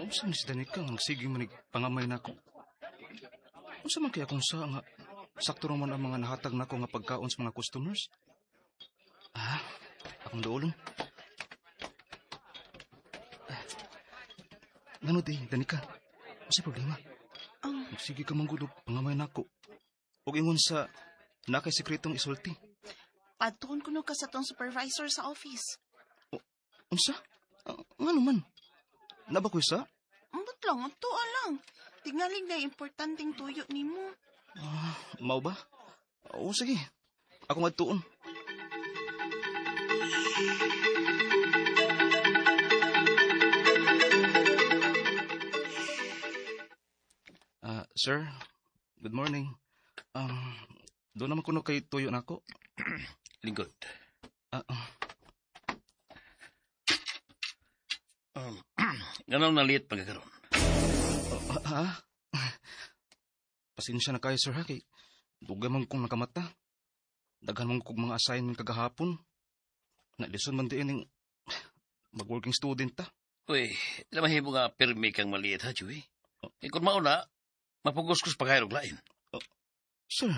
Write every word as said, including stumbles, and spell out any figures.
Unsa man si Danica nga nagsige man pangamay nako? Unsa man kaya kung sa nga sakto ra man ang mga nahatag nako nga pagkaon sa mga customers? Ah, akong duolon. Ah, Ngano di, Danica? Unsa problema? Um, Nagsige ka man gud og pangamay nako. Ug ingon sa naa kay sekretong isulti. Padtuon kuno ka sa atong supervisor sa office. Unsa? Ah, ngano man? Naa ba koy sa? Ambot lang, adtoa lang. Tingalig na importanteng tuyo nimo. Ah, mao ba? Oo, sige. Ako adtuon. Ah, sir, good morning. Um, doon naman kuno kay tuyo nako. Lingkod. Ah, ah, Um, Nganong naliit pa ka karon? ah, ah. Pasensya na kayo, sir, ha? Kay dugay man kong nakamata. Daghan man kog mga assignment kagahapon. Nalison man diin ning mag-working student ta. Uy, di mahimo nga pirmi kang maliit ha, Joey. Eh, kung mauna, mapugos-kus pa kayo og lain. Sir.